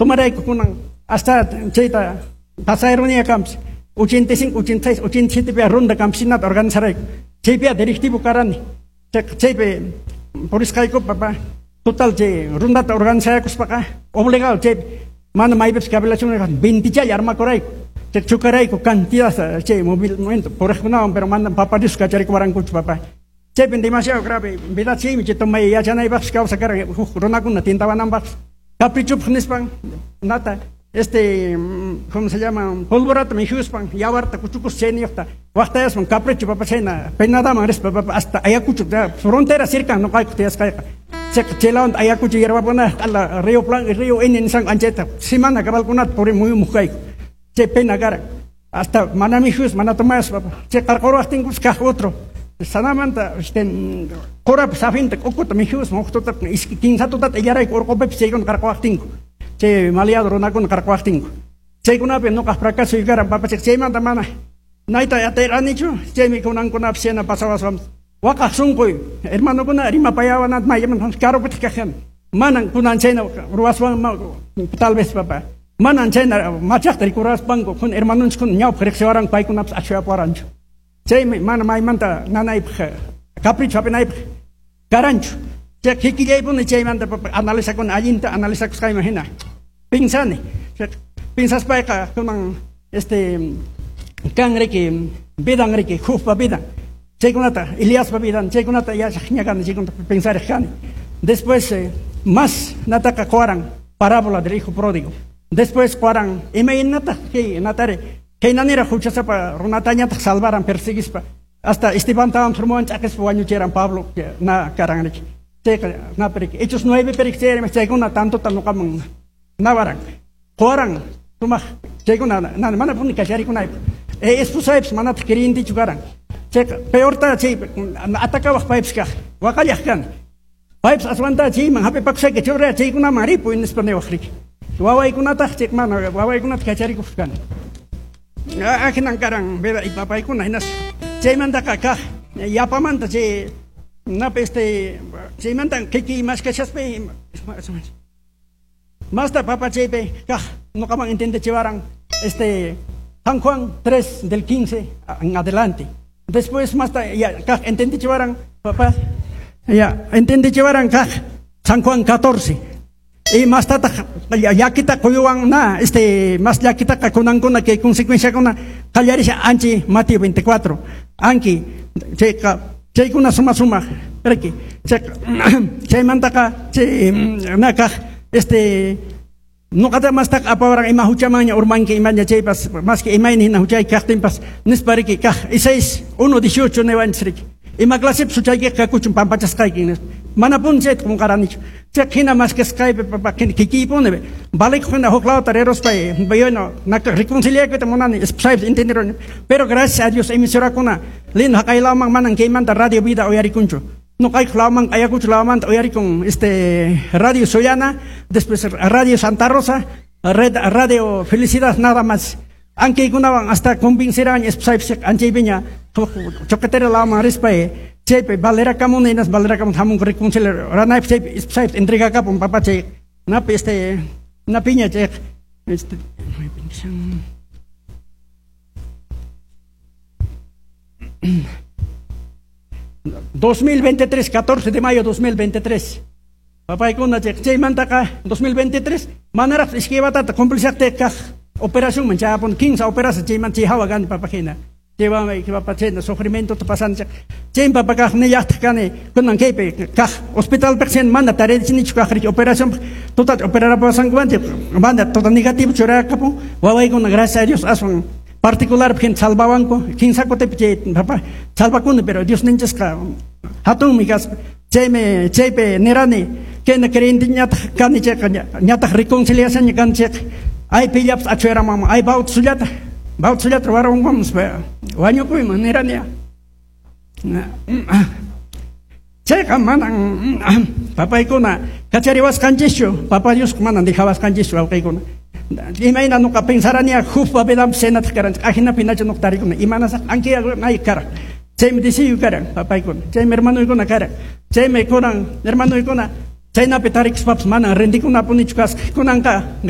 Tomarayku kunan hasta chayta pasayrunia kamps 85, 86, 87 pi ronda campesinata organizarayku. Chaypi directivo karani. Chaypi purisqayku, papá. Total, chay rondata organizaykuspaqa obligado chay mana maypipis cavilación 20 challa armakurayku. Chay chocarayku cantidad chay movimiento puriqkunawan, pero mana Papá Dios kacharikuwarankuchu, papá. Chaypi demasiado grave vida chaymi chay tomay yachanaypaqpis kawsa karan huk runakuna tintawananpaqpis. Caprichopaq nispan nata ¿cómo se llama? Polvorata mikhuspan yawarta kuchukus chayniyuqta waqtayaspan capricho, papá, chayna penadaman rispa, papá, hasta Ayacucho, frontera cerca nuqayku tiyasqayqa. Chaylawan Ayacucho hierbapuna q'ala Río Plan, Río Ene nisqanku anchayta semana cabalkunata puri muyumuq kayku. Chay pena karan. Hasta mana mikhus, mana tomayas, papá. Chay qarquruwaqtinkus kaq otro. Sanamanta qurapa saphinta k'ukuta mikhuspa huk tuta iskay kimsa tutata illarayku urqupipis chaykuna qarquwaqtinku. Chay maleado runakuna qarquwaqtinku. Chaykunapi nuqaq fracaso karan, papá, chaymanta mana nayta atiranichu, chaymi kunankunapis chayna pasawaswan. Waqaq sunquy hermanokuna rimapayawanata mayman karupitaq kaqan. Manan kunan chayna ruwaswan tal vez, papá. Manan chayna machaqta rikuraspanku kun hermanonchikkuna ñawpaq riqsiwaranku paykunapas achuyapuwaranchu. Chaymi mana maymanta nanaypaq capricho hap'inaypaq karanchu. Chay kikillaypuni chaymanta, papá, analizakuna allinta analizakusqayman hina. Pensani. Pensaspayqa kunan kan riki vidan riki Jobpa vidan. Chaykunata Eliaspa vidan chaykunata yachaqña kani, chaykunata pensariq kani. Después más nataqa quwaran parábola del hijo pródigo. Después quwaran imaynataq kay natari kaynanira huchasapa runatañataq salvaran perseguispa. Hasta Estebantawan turmuwan ch'aqispa wañuchiran Pablo na karan riki. Chayqa napi Hechos 9 perik chayrimi chaykuna tantota nuqaman nawaran. Quwaran sumaq chaykuna mana puni kacharikunaypaq. Esposaypis manataq creyentichu karan. Chayqa peorta chay atakawaq paypis kaq waqallaq kani. Paypis aswanta chayman hap'ipakusayki churaya chaykunaman ripuy nispa niwaq riki. Wawaykunataq chay mana wawaykunata kacharikuq kani. Ahinan karan vida papaykuna hinas chaymantaqa kaq yapamanta chay napi chaymanta kikiy maskashaspa masta, papa, chaypi kaq nuqaman entendechiwaran San Juan 3 del 15 en adelante. Después masta ya kaq entendechiwaran, papá, ya entendechiwaran kaq San Juan 14. Y mastataq llakita quyuwan na mas llakitaqa kunankuna kay consecuenciakuna qallarisha anchi Mateo 24. Anki chayqa chaykuna suma sumaq riki chaymantaqa chay nakaq nuqata mastaq apawaran ima huchamanña urmanki imaña chaypas maski imayna hina huchayki kaqtinpas nispa riki kaq Isaías 1:18 niwanchis riki. Ima clasepis huchaykiqa kakuchun pampachasqayki nispa. Mana puni chayta qunqaranichu. Chay hina maskasqaypi, papá, kikiypuni valikuq hina huk lawta riruspay bueno naka reconciliakuyta munani esposaypis entenderuni. Pero gracias a Dios emisorakuna lindo haqay lawman manan kaymanta Radio Vida uyarikunchu. Nuqaykuq lawman Ayacucho lawmanta uyarikun Radio Soyana, después Radio Santa Rosa, Radio Felicidad nada más. Ankaykunawan hasta convencerán esposaypis anchaypiña choquetera lawman rispay chaypi valerakamuni hinas valerakamuni hamunku reconciliar ranaypis chaypi esposaypis entregakapun, papá, chay napi napiña chayqa 2023, 14 de mayo 2023. Papaykuna chaymantaqa 2023 manaraq iskay watata cumplishaqtiyqa kaq operacionman chayapun 15 operación chayman chay hawa kani, papa, hina. Chaywanmi papa chayna sufrimientota pasanchik. Chaymi, papa, kaq nillaqtaq kani kunan kaypi kaq hospitalpiq chayna mana tarichinichu kaq riki operación tuta operarapasankumanchik mana tota negativo churayakapun wawaykuna, gracias a Dios, aswan particular hina salvawanku kinsa kutipi chay, papa, salvakuni, pero Dios ninchisqa hatunmi kaspa chaymi chaypi nirani kayna creyente ñataq kani chayqa ñataq reconciliación ña kani chayqa ay pillapas achueramanman ay bautizollata bautizollata ruwaranman nispa wañukuyman nirani. Chayqa manan papaykuna kachariwasqanchischu, Papa Dios manan dejawasqanchischu, wawqiykuna. Imayna nuqa pensarani Jobpa vidanpi chaynataq karanchik ajinapi nachu nuqa tarikuni imanasaq anki ay karan chaymi decidio karan, papaykuna, chaymi hermanoykuna karan chaymi kunan hermanoykuna chaynapi tarikuspapas manan rendikunapunichu kasqa kunanqa.